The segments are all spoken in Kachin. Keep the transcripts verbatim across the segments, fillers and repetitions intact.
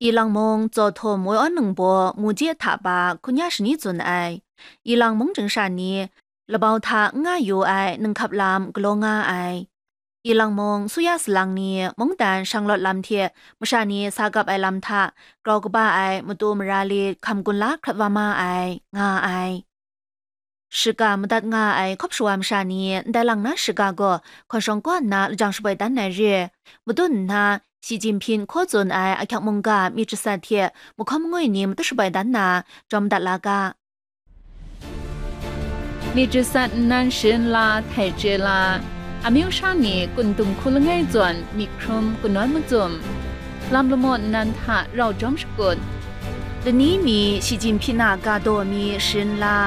Ilang mung Zaw Htum Woi Awn Ningbaw mu je hta pa hkun ya shani tsun ai. Ilang mung chying sha ni labau hta n nga yu ai ninghkap lam galaw nga ai. Ilang mung Suya Salang ni mungdan shanglawt lam hte masha ni sa gap ai lam hta grau kaba ai matu mara lit hkam gun la hkrat wa ma ai, nga ai. Shiga madat nga ai hkawp shawa masha ni ndai lang na shiga gaw hkawn shawng kaw nna lajang shaboi dan ai re. Madun nna, Xi Jinping hkaw tsun ai ahkyak mungga myit jasat hte mahkawn mangwi ni matut shaboi dan na, jawm dat la ga. Myit jasat nnan sharin la, htai chye la, amyu sha ni kun dum hku langai zawn myit hkrum kanawn macum, lam lamaw nnan hta rau jawm shakut, lani mi Xi Jinping a ga daw mi sharin la.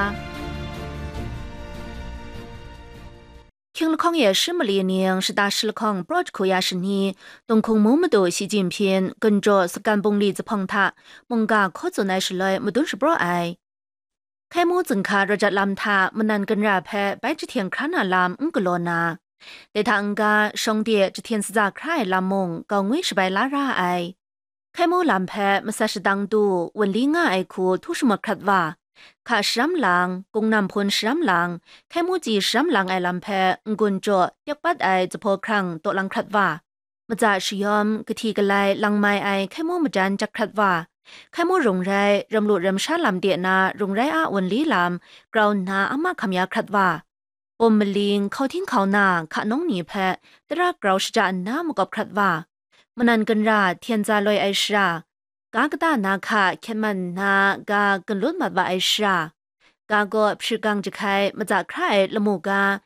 Hkying lahkawng e shi mali ning shata shi lahkawng praw jahku ya shani, Tunghkung mu madu Xi Jinping, Gunjaw Sakan bungli zuphpawng hta mungga hkaw tsun ai shaloi madun shapraw ai. Hkai mu zinghka rawt jat lam hta manan ginra hpe bai jahten hkra na lam n galaw na, dai hta n-ga shawng de jahten saza hkra ai lam mung gau ngwi shabai la ra ai. Hkai mu lam hpe masat shadang du wunli nga ai hku htu shamat hkrat wa, hka sharam lang, gung nam hpun sharam lang, hkai mu chyi sharam lang ai lam hpe n-gun jaw tyek pat ai zuphpaw hkrang taw lang hkrat wa, matsa shayawm, kahti galai lang mai ai hkai mu majan jat hkrat wa, hkai mu rung rai, ram lu ram sha lam de na rung rai a wunli lam grau nna ama hkam ya hkrat wa, bum maling, hkau hting hkau na, hka nawng ni hpe tara grau shaja nna makawp hkrat wa, manan ginra hten za loi ai shara, ga kata na hka hkyet man nna ga gunlun mat wa ai shara, ga gaw hpri gang jahkai matsa hkra ai lamu ga,